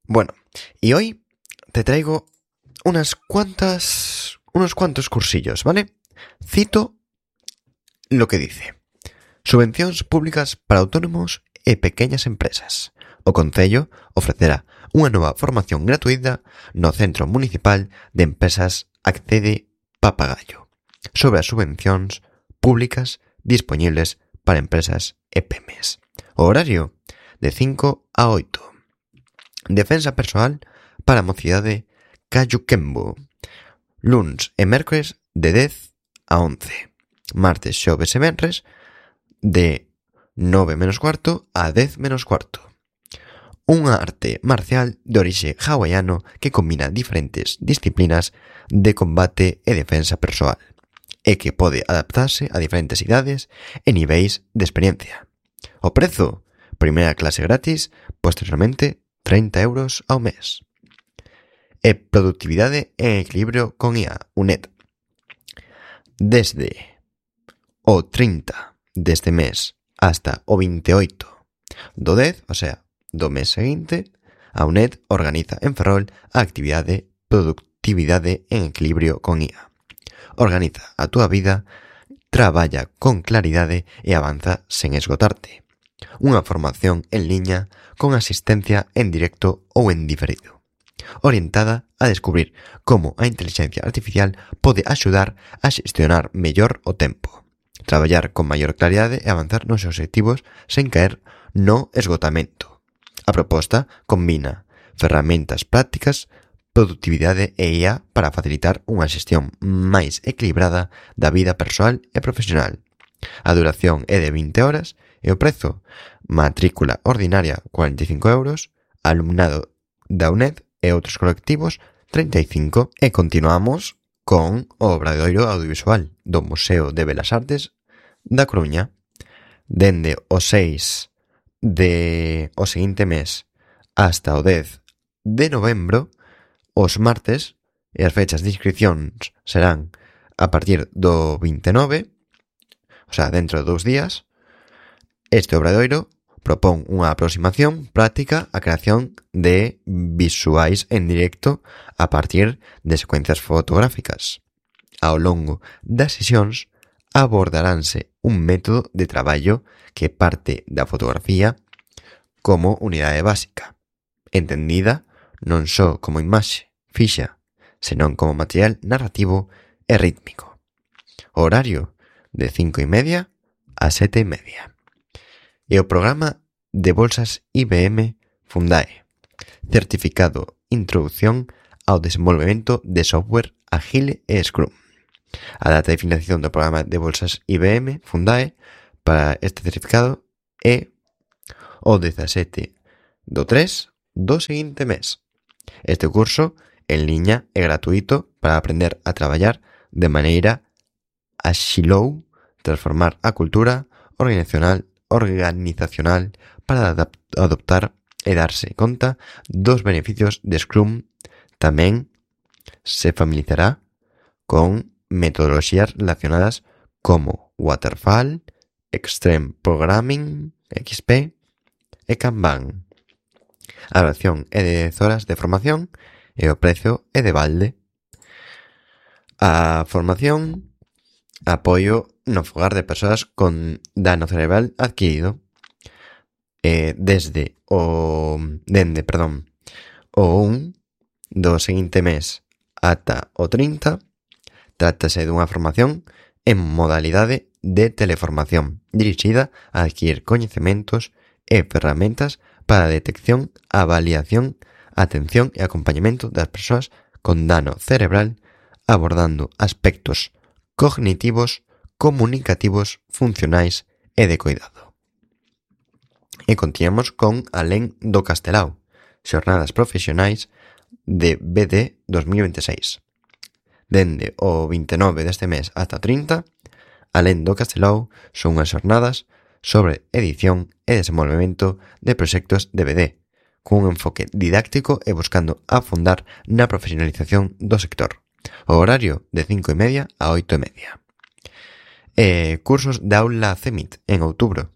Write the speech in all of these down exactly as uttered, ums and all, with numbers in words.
Bueno, y hoy te traigo unas cuantas, unos cuantos cursillos, ¿vale? Cito lo que dice: subvencións públicas para autónomos e pequeñas empresas. O Concello ofrecerá unha nova formación gratuita no Centro Municipal de Empresas Accede Papagayo sobre as subvencións públicas dispoñibles para empresas e pymes. O horario de cinco a oito. Defensa persoal para a mocidade Cayuquembo. Luns e mércores de dez a once. Martes, xoves e venres de nove menos cuarto a dez menos cuarto. Unha arte marcial de orixe hawaiano que combina diferentes disciplinas de combate e defensa persoal e que pode adaptarse a diferentes idades e niveis de experiencia. O prezo: primeira clase gratis, posteriormente treinta euros ao mes. E productividade en equilibrio con I A, U N E D. Desde o trinta deste mes hasta o veintioito do dez, o sea, do mes seguinte, a U N E D organiza en Ferrol a actividade Productividade en equilibrio con I A. Organiza a túa vida, traballa con claridade e avanza sen esgotarte. Unha formación en liña con asistencia en directo ou en diferido, orientada a descubrir como a inteligencia artificial pode axudar a xestionar mellor o tempo, traballar con maior claridade e avanzar nos obxectivos sen caer no esgotamento. A proposta combina ferramentas prácticas, productividade e I A para facilitar unha xestión máis equilibrada da vida persoal e profesional. A duración é de vinte horas e o prezo: matrícula ordinaria cuarenta e cinco euros, alumnado da U N E D e outros colectivos treinta e cinco. E continuamos con o obradoiro audiovisual do Museo de Belas Artes da Coruña. Dende o seis de o seguinte mes hasta o dez de novembro, os martes, e as fechas de inscripcións serán a partir do vinte e nove, o sea, dentro de dous días. Este obradoiro propón unha aproximación práctica á creación de visuais en directo a partir de secuencias fotográficas. Ao longo das sesións abordaránse un método de traballo que parte da fotografía como unidade básica, entendida non só como imaxe fixa, senón como material narrativo e rítmico. O horario de cinco e media a sete e media. E o programa de bolsas I B M Fundae, certificado Introducción ao desenvolvemento de software Agile e Scrum. A data de financiación do programa de bolsas I B M Fundae para este certificado é o dezasete do tres do seguinte mes. Este curso en liña é gratuito para aprender a traballar de maneira axilou, transformar a cultura organizacional organizacional para adoptar e darse conta dos beneficios de Scrum. Tamén se familiarizará con metodoloxías relacionadas como Waterfall, Extreme Programming, X P e Kanban. A duración é de dez horas de formación e o prezo é de balde. A formación: apoio no fogar de persoas con dano cerebral adquirido. Eh, desde o dende, perdón, o un do seguinte mes ata o trinta, trátase dunha formación en modalidade de teleformación dirixida a adquirir coñecementos e ferramentas para a detección, avaliación, atención e acompañamento das persoas con dano cerebral, abordando aspectos cognitivos, comunicativos, funcionais e de cuidado. E continuamos con Alén do Castelao, xornadas profesionais de B D dos mil veintiséis. Dende o vinte e nove deste mes hasta trinta, Alén do Castelao son unhas xornadas sobre edición e desenvolvemento de proxectos de B D, cun enfoque didáctico e buscando afondar na profesionalización do sector. O horario de cinco e media a oito e media. E cursos de aula CEMIT en outubro.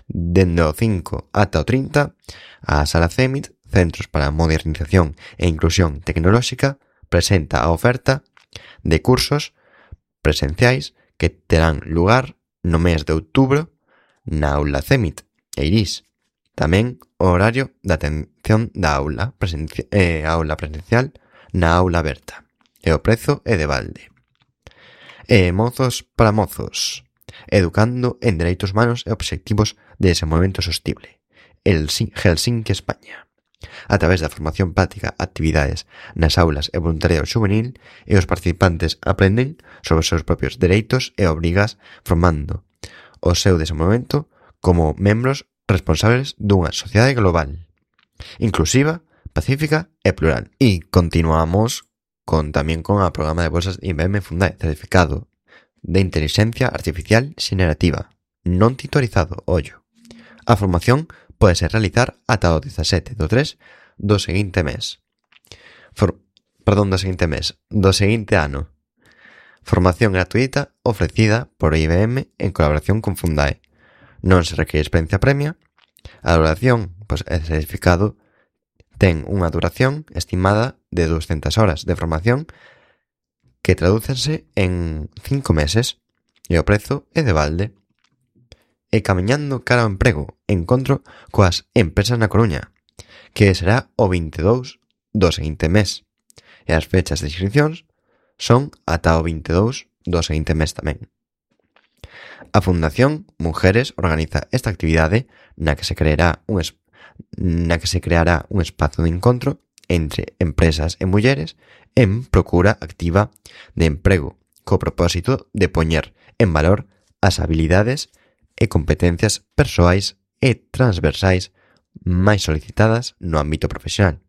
Dende o cinco ata o trinta, a sala CEMIT Centros para a Modernización e Inclusión Tecnolóxica presenta a oferta de cursos presenciais que terán lugar no mes de outubro na aula CEMIT e IRIS. Tamén o horario de atención da aula, presenci- eh, aula presencial na aula aberta. E o prezo é de balde. E mozos para mozos, educando en dereitos humanos e obxectivos de desenvolvemento sostible. El Helsinki, España. A través da formación práctica, actividades nas aulas e voluntariado juvenil, e os participantes aprenden sobre os seus propios dereitos e obrigas, formando o seu desenvolvemento como membros responsables dunha sociedade global, inclusiva, pacífica e plural. E continuamos con tamén con a programa de bolsas I B M Fundae, certificado de inteligencia artificial xenerativa, non titularizado, ollo. A formación pódese realizar ata o dezasete do tres do seguinte mes. For, perdón, do seguinte mes, do seguinte ano. Formación gratuita ofrecida por I B M en colaboración con Fundae. Non se requiere experiencia premia. A duración, pois, el certificado ten unha duración estimada de doscientas horas de formación que tradúcense en cinco meses e o prezo é de balde. E camiñando cara ao emprego, encontro coas empresas na Coruña, que será o veintidós do seguinte mes. E as fechas de inscripcións son ata o veintidós do seguinte mes tamén. A Fundación Mujeres organiza esta actividade na que se creará un es- na que se creará un espazo de encontro entre empresas e mulleres en procura activa de emprego, co propósito de poñer en valor as habilidades e competencias persoais e transversais máis solicitadas no ámbito profesional,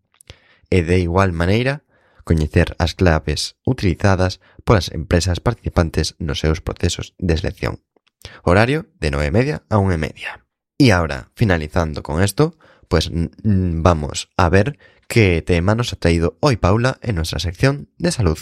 e de igual maneira coñecer as claves utilizadas polas empresas participantes nos seus procesos de selección. Horario de nove e media a unha e media. E ahora, finalizando con esto, pues vamos a ver qué tema nos ha traído hoy Paula en nuestra sección de salud.